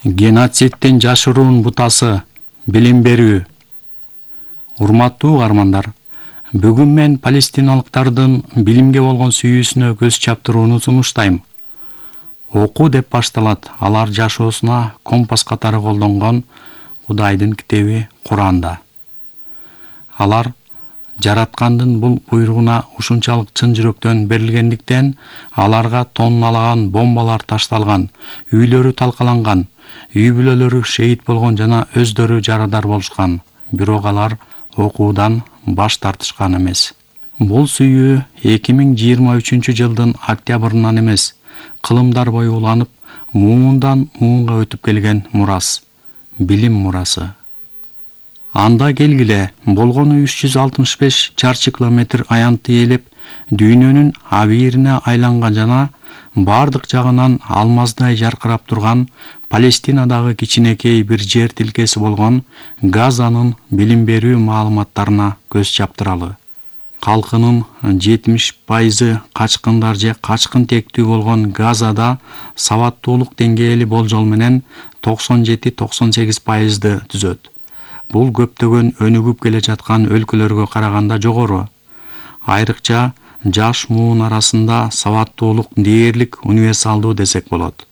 Геноциддин жашыруун бутасы — билим берүү. Урматтуу угармандар, бүгүн мен палестиналыктардын билимге болгон сүйүүсүнө көз чаптырууну сунуштайм. Окуу деп башталат алар жашоосуна компас катары колдонгон Кудайдын китеби Куранда. Алар жараткандын бул буйругуна ушунчалык чын жүрөктөн берилгендиктен аларга тонналаган бомбалар ташталган, үйлөрү талкаланган, үй бүлөлөрү шейит болгон жана өздөрү жарадар болушкан. Бирок алар окуудан баш тартышкан эмес. Бул сүйүү 2023 жылдын октябрынан эмес, кылымдар бою уланып, муундан муунга өтүп келген мурас, билим мурасы. Анда келгиле, болгону 365 чарчы километр аянтты ээлеп, дүйнөнүн абийирине айланган жана бардык жагынан алмаздай жаркырап турган Палестинадагы кичинекей бир жер тилкеси болгон Газанын билим берүү маалыматтарына көз чаптыралы. Калкынын 70% качкындар же качкын тектүү болгон Газада сабаттуулук деңгээли болжол менен 97-98%ды түзөт. Бул көптөгөн өнүгүп келе жаткан өлкөлөргө караганда жогору. Айрыкча жаш муун арасында сабаттуулук дээрлик универсалдуу десек болот.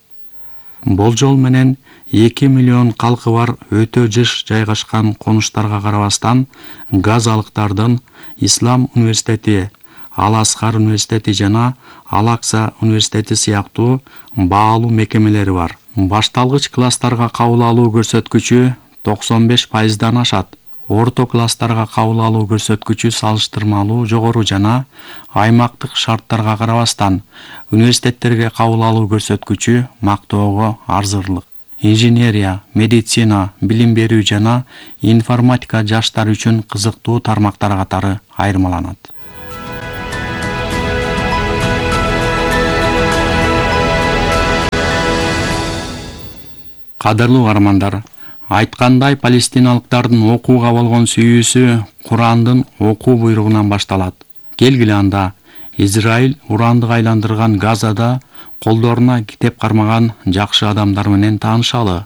Болжол менен 2 миллион калкы бар өтө жыш жайгашкан конуштарга карабастан, газалыктардын Ислам университети, Ал-Асхар университети жана Ал-Акса университети сыяктуу баалуу мекемелери бар. Башталгыч класстарга кабыл алуу көрсөткүчү 95%дан ашат. Орто класстарга кабыл алуу көрсөткүчү салыштырмалуу жогору жана аймактык шарттарга карабастан университеттерге кабыл алуу көрсөткүчү мактоого арзырлык. Инженерия, медицина, билим берүү жана информатика жаштар үчүн кызыктуу тармактар катары айырмаланат. Кадырлуу угармандар, айткандай палестиналыктардын окууга болгон сүйүүсү Курандын окуу буйругунан башталат. Келгиле анда Израиль урандык айландырган Газада колдоруна китеп кармаган жакшы адамдар менен таанышалы.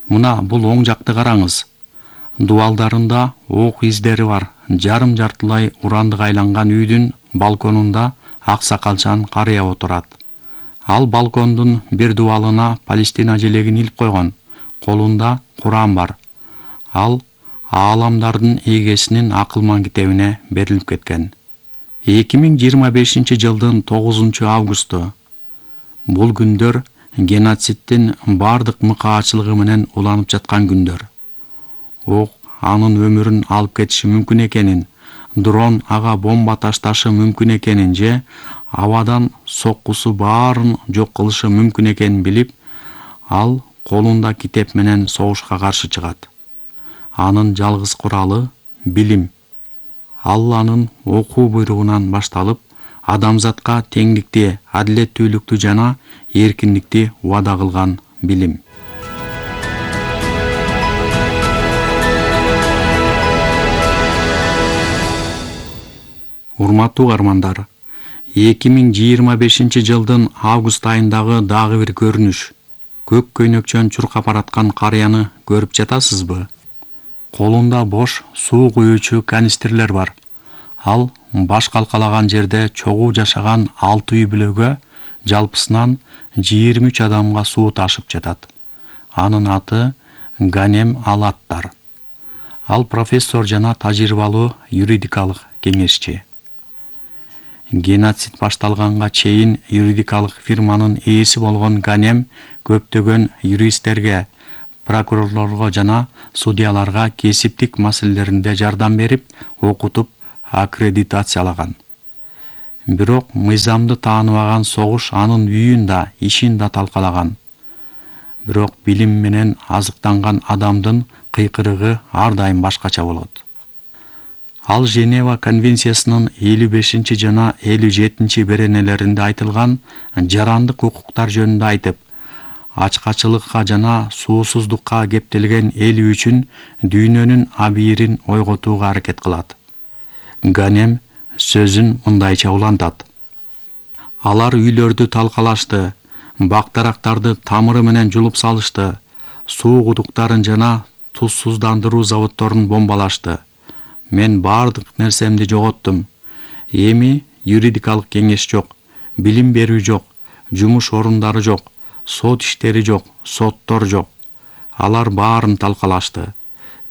Мына бул оң жакты караңыз. Дубалдарында ок издери бар. Жарым-жартылай урандык айланган үйдүн балконунда ак сакалчан карыя отурат. Ал балкондун бир дубалына Палестина желегин илип койгон. Колунда Куран бар. Ал ааламдардын эгесинин акылман китебине берилип кеткен. 2025 жылдын 9 августу. Бул күндөр геноциддин бардык мыкаачылыгы менен уланып жаткан күндөр. Ок анын өмүрүн алып кетиши мүмкүн экенин, дрон ага бомба ташташы мүмкүн экенин же абадан соккусу баарын жок кылышы мүмкүн экенин билип, ал колунда китеп менен согушка каршы чыгат. Анын жалгыз куралы — билим. Алланын окуу буйругунан башталып, адамзатка теңдикти, адилеттүүлүктү жана эркиндикти убада кылган билим. Урматтуу угармандар, 2025 жылдын август айындагы дагы бир көрүнүш. Көк көйнөкчөн чуркап бараткан карыяны көрүп жатасызбы? Колунда бош суу куюучу канистрлер бар. Ал баш калкалаган жерде чогуу жашаган 6 үй бүлөгө жалпысынан 23 адамга суу ташып жатат. Анын аты Ганем Алаттар. Ал профессор жана тажрыйбалуу юридикалык кеңешчи. Геноцид башталганга чейин юридикалык фирманын ээси болгон Ганем көптөгөн юристтерге, прокурорлорго жана судьяларга кесиптик маселелеринде жардам берип, окутуп, аккредитациялаган. Бирок мыйзамды тааныбаган согуш анын үйүн да, ишин да талкалаган. Бирок билим менен азыктанган адамдын кыйкырыгы ар дайым башкача болот. Ал Женева конвенциясынын 55 жана 57 беренелеринде айтылган жарандык укуктар жөнүндө айтып, ачкачылыкка жана суусуздукка кептелген эл үчүн дүйнөнүн абийирин ойготууга аракет кылат. Ганем сөзүн мындайча улантат. Алар үйлөрдү талкалашты, бактарактарды тамыры менен жулуп салышты, суу кудуктарын жана тузсуздандыруу заводдорун бомбалашты. Мен бардык нерсемди жоготтум. Эми юридикалык кеңеш жок, билим берүү жок, жумуш орундары жок, сот иштери жок, соттор жок. Алар баарын талкалашты.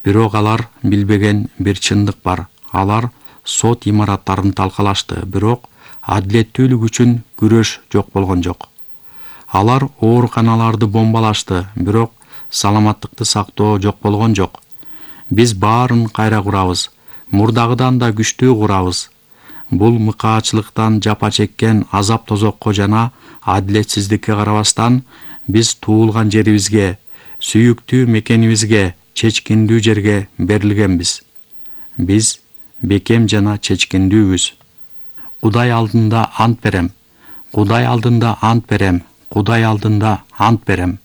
Бирок алар билбеген бир чындык бар. Алар сот имараттарын талкалашты, бирок адилеттүүлүк үчүн күрөш жок болгон жок. Алар ооруканаларды бомбалашты, бирок саламаттыкты сактоо жок болгон жок. Биз баарын кайра курабыз, мурдагыдан да күчтүү курабыз. Бул мыкаачылыктан жапа чеккен азап тозокко жана адилетсиздикке карабастан биз туулган жерибизге, сүйүктүү мекенибизге, чечкиндүү жерге берилгенбиз. Биз бекем жана чечкиндүүбүз. Кудай алдында ант берем. Кудай алдында ант берем. Кудай алдында ант берем.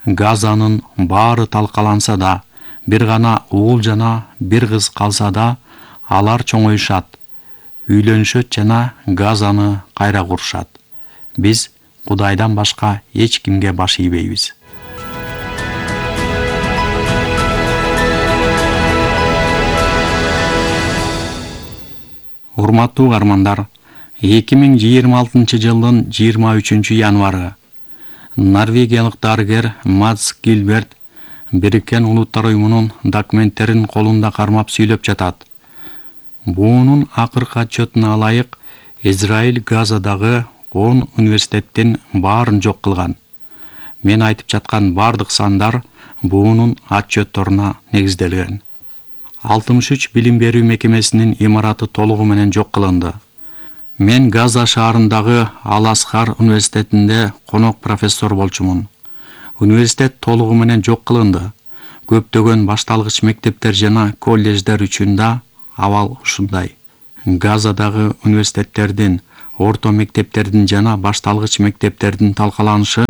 Газанын баары талкаланса да, бир гана уул жана бир кыз калса да, алар чоңоюшат, үйлөнүшөт жана Газаны кайра курушат. Биз Кудайдан башка эч кимге баш ийбейбиз. Урматтуу угармандар, 2026 жылдын 23 январы норвегиялык дарыгер Маds Гилберт Бириккен Улуттар Уюмунун документтерин колунда кармап сүйлөп жатат. Буунун акыркы отчетуна ылайык, Израиль Газадагы 10 университеттин баарын жок кылган. Мен айтып жаткан бардык сандар буунун отчетторуна негизделген. 63 билим берүү мекемесинин имараты толугу менен жок кылынды. Мен Газа шаарындагы Ал-Асхар университетинде конок профессор болчумун. Университет толугу менен жок кылынды. Көптөгөн башталгыч мектептер жана колледждер үчүн да абал ушундай. Газадагы университеттердин, орто мектептердин жана башталгыч мектептердин талкаланышы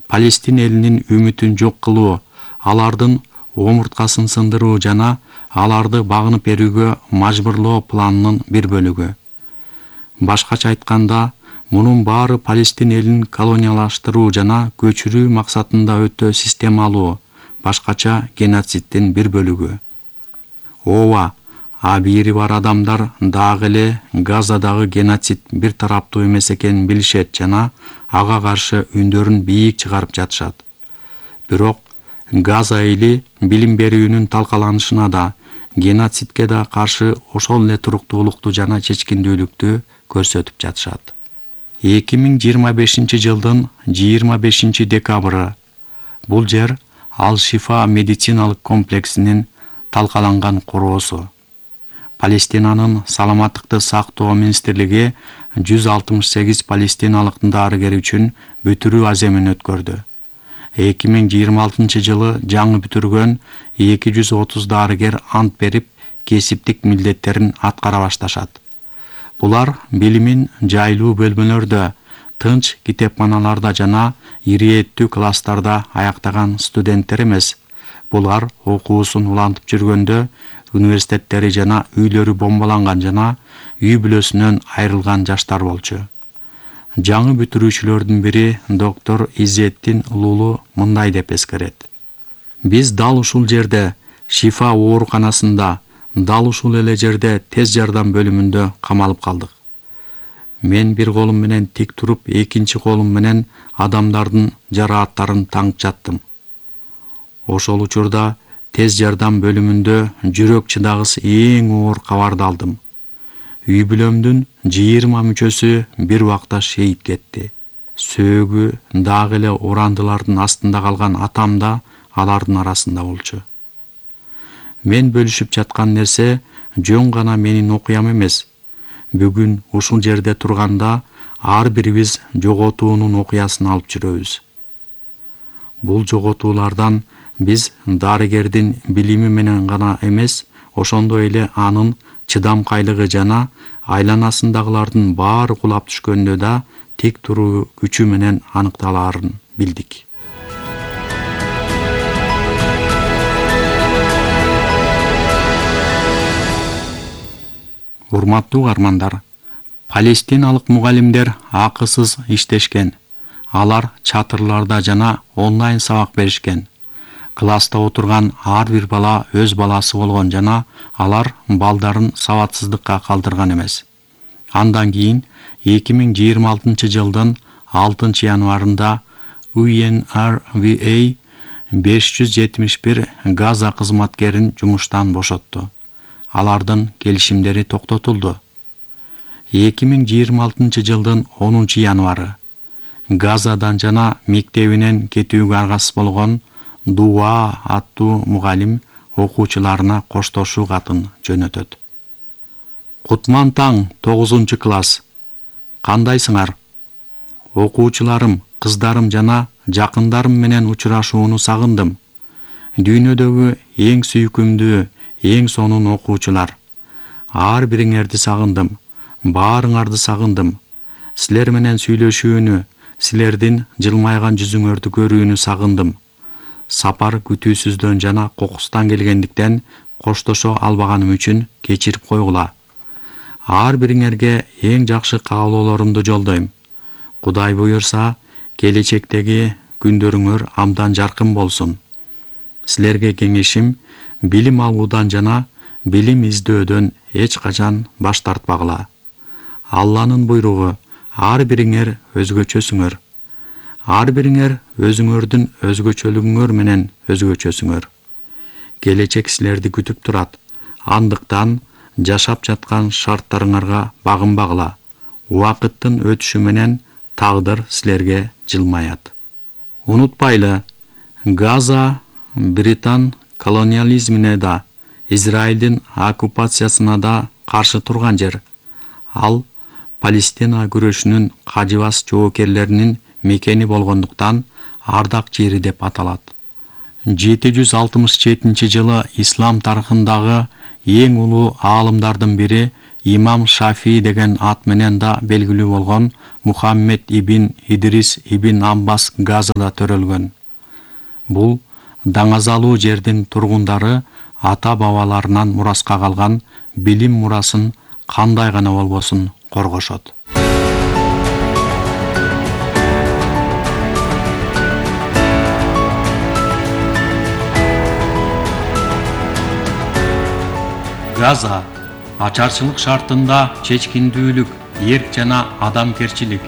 Палестин элинин үмүтүн жок кылуу, алардын омурткасын сындыруу жана аларды багынып берүүгө мажбурлоо планынын бир бөлүгү. Башкача айтканда, мунун баары Палестин элин колониялаштыруу жана көчүрүү максатында өтө системалуу, башкача геноциддин бир бөлүгү. Ооба, абийири бар адамдар дагы эле Газадагы геноцид бир тараптуу эмес экенин билишет жана ага каршы үндөрүн бийик чыгарып жатышат. Бирок Газа эли билим берүүнүн талкаланышына да, геноцидке да каршы ошол эле туруктуулукту жана чечкиндүүлүктү көрсөтүп жатышат. 2025 жылдын 25 декабры бул жер Ал-Шифа медициналык комплексинин талкаланган короосу. Палестинанын саламаттыкты сактоо министрлиги 168 палестиналык дарыгер үчүн бүтүрүү аземин өткөрдү. 2026 жылы жаңы бүтүргөн 230 дарыгер ант берип, кесиптик милдеттерин аткара башташат. Булар билимин жайлуу бөлмөлөрдө, тынч китепканаларда жана ириеттүү класстарда аяктаган студенттер эмес. Булар окуусун улантып жүргөндө университеттери жана үйлөрү бомбаланган жана үй бүлөсүнөн айрылган жаштар болчу. Жаңы бүтүрүүчүлөрдүн бири доктор Изеттин Лулу мындай деп эскерет. Биз дал ушул жерде, Шифа ооруканасында, дал ушул эле жерде тез жардам бөлүмүндө камалып калдык. Мен бир колум менен тик туруп, экинчи колум менен адамдардын жарааттарын таңып жаттым. Ошол учурда тез жардам бөлүмүндө жүрөк чыдагыс эң оор кабарды алдым. Үй бүлөмдүн 20 мүчөсү бир убакта шейит кетти. Сөөгү дагы эле орандылардын астында калган атам да алардын арасында болчу. Мен бөлүшүп жаткан нерсе жөн гана менин окуям эмес. Бүгүн ушул жерде турганда ар бирибиз жоготуунун окуясын алып жүрөбүз. Бул жоготуулардан биз дарыгердин билими менен гана эмес, ошондой эле анын чыдамкайлыгы жана айланасындагылардын баары кулап түшкөндө да тик туруу күчү менен аныкталаарын билдик. Урматтуу угармандар, палестиналык мугалимдер акысыз иштешкен. Алар чатырларда жана онлайн сабак беришкен. Класста отурган ар бир бала өз баласы болгон жана алар балдарын сабатсыздыкка калтырган эмес. Андан кийин 2026-жылдын 6-январында UNRWA 571 Газа кызматкерин жумуштан бошотту. Алардын келишимдери токтотулду. 2026-жылдын 10-январы Газадан жана мектебинен кетүүгө аргасыз болгон Дуа аттуу мугалим окуучуларына коштошуу катын жөнөтөт. Кутман таң, 9-класс. Кандайсыңар? Окуучуларым, кыздарым жана жакындарым менен учурашууну сагындым. Дүйнөдөгү эң сүйкүмдүү, эң сонун окуучулар. Ар бириңерди сагындым. Баарыңарды сагындым. Силер менен сүйлөшүүнү, силердин жылмайган жүзүңөрдү көрүүнү сагындым. Сапар күтүүсүздөн жана кокустан келгендиктен коштошо албаганым үчүн кечирип койгула. Ар бириңерге эң жакшы каалоолорумду жолдойм. Кудай буйрса, келечектеги күндөрүңөр абдан жаркын болсун. Силерге кеңешим, билим алуудан жана билим издөөдөн эч качан баш тартпагыла. Алланын буйругу, ар бириңер өзгөчөсүңөр. Ар бириңер өзүңөрдүн өзгөчөлүгүңөр менен өзгөчөсүңөр. Келечек силерди күтүп турат. Андыктан жашап жаткан шарттарыңарга багынбагыла. Убакыттын өтүшү менен тагдыр силерге жылмаят. Унутпайлы, Газа Британ колониализмине да, Израилдин оккупациясына да каршы турган жер. Ал Палестина күрөшүнүн кажыбас жоокерлеринин мекени болгондуктан ардак жери деп аталат. 767-жылы ислам тарыхындагы эң улуу аалымдардын бири Имам Шафии деген ат менен да белгилүү болгон Мухаммед ибн Идрис ибн Аббас Газада төрөлгөн. Бул даңазалуу жердин тургундары ата-бабаларынан мураска калган билим мурасын кандай гана болбосун коргошот. Газа ачарчылык шартында чечкиндүүлүк, эрк жана адамкерчилик,